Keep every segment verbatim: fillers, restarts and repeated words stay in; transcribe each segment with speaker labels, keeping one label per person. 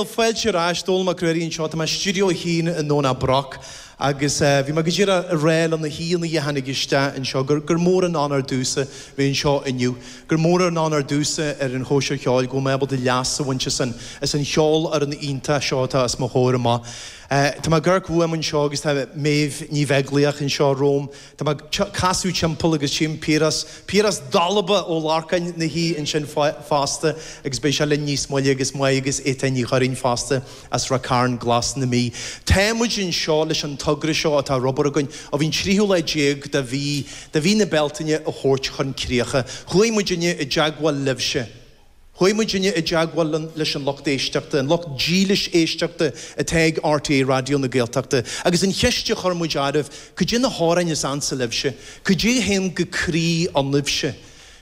Speaker 1: Fáilte ar ais Dónall Mac Ruairí anseo tá mé stiúideo a haon i nDomhnach Broc agus bhí mé go díreach ag rá le na haíonna a tháinig isteach anseo gur gur mór an onóir domhsa bheith anseo inniu, gur mór an onóir domhsa ar an chóisir cheoil go bhfuil mé ábalta leas a bhaint as an as an cheolfhoireann iontach seo atá os mo chomhair amach. Tá mé ag amharc uaim anseo agus tá Méabh Ní Bheaglaoich anseo romham. Tá mé ag casadh timpeall agus tchím Piaras, Piaras Dalba Ó Lorcáin ina shuí ansin fosta agus beidh sé linn níos moille agus Maigh agus Étáin Ní Churraoin fosta as Ráth Cairn Glas na Mí. Tá muid anseo leis an togra seo atá ar obair againn ó bhí an tríú lá déag de mhí, de mhí na Bealtaine a thabhairt chun críocha. Chuaigh muidinne i dteagmháil libhse. Chuaigh muidinne i dteagmháil leis an lucht éisteachta, an lucht dílis éisteachta atá ag RTÉ Raidió na Gaeltachta, agus an cheist a chuir muid oraibh, cad é na hamhráin is ansa libhse? Cad é a théann go croí ionaibhse?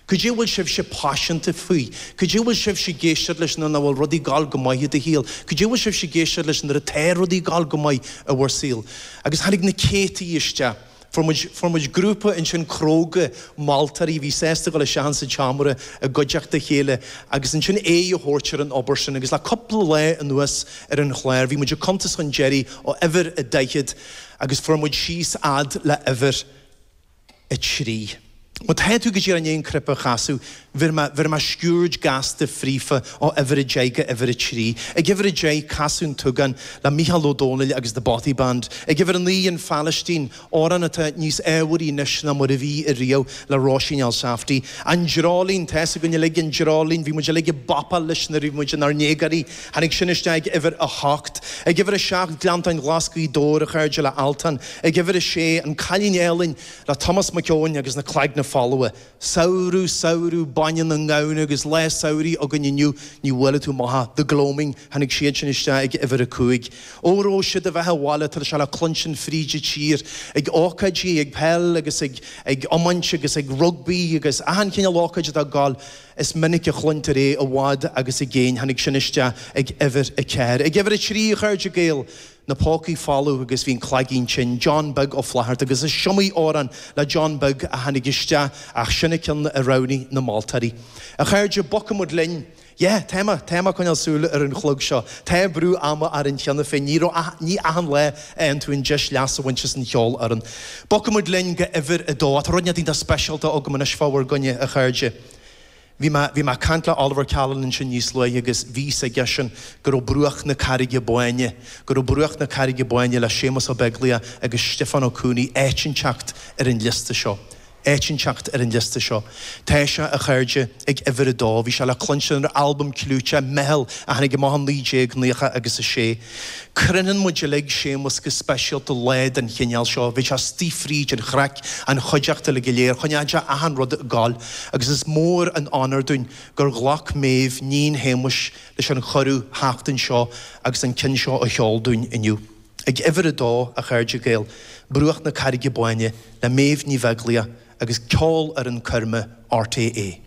Speaker 1: Cad é a bhfuil sibhse paiseanta faoi? Cad é a bhfuil sibhse ag éisteacht leis nuair nach bhfuil rudaí ag gabháil go maith i do shaol? Cad é a bhfuil sibhse ag éisteacht leis nuair atá rudaí ag gabháil go maith i bhur saol? Agus tháinig na céadtaí isteach. Fuair muid, fuair muid grúpa ansin cróga moltóirí a bhí sásta dul isteach insa tseomra i gcuideachta a chéile agus ansin aghaidh a thabhairt ar an obair sin agus le cúpla lá anuas ar an chlár bhí muid ag cuntas chun deiridh ó uimhir a daichead agus fuair muid síos fhad le uimhir a trí. Má tá tú go díreach i ndiaidh an cnaipe a chasadh, bhéarfaidh mé, bhéarfaidh mé sciuird gasta fríofa ó uimhir a deich go uimhir a trí. Ag uimhir a deich, Casadh an tSúgáin le Mícheál Ó Domhnaill agus The Bothy Band. Ag uimhir a naoi, An Phalaistín, amhrán atá níos ábharaí anois ná mar a bhí ariamh le Róisín Elsafty. An Dreoilín, tá fhios againn uilig an Dreoilín, bhí muid uilig ag bopáil leis nuair a bhí muid inár ndéagóirí. Tháinig sin isteach ag uimhir a hocht. Ag uimhir a seacht, Gleanntáin Ghlas Ghaoth Dobhair, a chairde, le Altan. Ag uimhir a sé, An Cailín Álainn le Tomás Mac Eoin agus na Cloigne Folmha. Samhradh, samhradh, bainne na ngamhan agus lá samhraidh againn inniu, ní bhuailfidh tú amach é. The Gloaming, tháinig siad sin isteach ag uimhir a cúig. Óró sé do bheatha abhaile, tá sé le cluinstin fríd an tír, ag ócáidí, ag peil agus ag ag iomáint agus ag rugbaí agus achan chineál ócáid atá ag gabháil, is minic a chluintear é i bhfad agus i gcéin. Tháinig sin isteach ag uimhir a ceathair. Ag uimhir a trí, a chairde Gael, Na Pócaí Folamh agus Bhí an Cloigín Tinn, John Beag Ó Flatharta agus is iomaí amhrán le John Beag a tháinig isteach ach sin an ceann a roghnaigh na moltóirí. A chairde, bogfaidh muid linn. Yeah, tá mé, tá mé ag coinneáil súil ar an chlog seo. Tá brú ama orainn cheana féin, ní raibh, ní achan lá a fhaigheann tú an deis leas a bhaint as an cheolfhoireann. Bogfaidh muid linn go uimhir a dó. Tá rud inteacht iontach speisialta agam anois fá bhur gcoinne, a chairde. Bhí mé, bhí mé ag caint le Oliver Callan ansin níos luaithe agus bhí fhios aigesean go raibh Bruach na Carraige Báine, go raibh Bruach na Carraige Báine le Séamus Ó Beaglaoich agus Stiofán Ó Cuanaigh áit inteacht ar an liosta seo. Áit inteacht ar an liosta seo. Tá sé, a chairde, ag uimhir a dó. Bhí sé le cluinstin ar albam clúiteach, Meitheal, a tháinig amach i naoi déag naocha agus a sé. Croitheann muid uilig Séamus go speisialta lá den chineál seo. Bheadh sé istigh fríd an chraic, an chuideachta uilig go léir, choinneodh sé achan rud ag gabháil. Agus is mór an onóir dúinn gur ghlac Méabh, níon Shéamuis, leis an chuireadh theacht anseo agus an ceann seo a cheol dúinn inniu. Ag uimhir a dó, a chairde Gael, Bruach na Carraige Báine le Méabh Ní Bheaglaoich agus Ceolfhoireann Coirme RTÉ.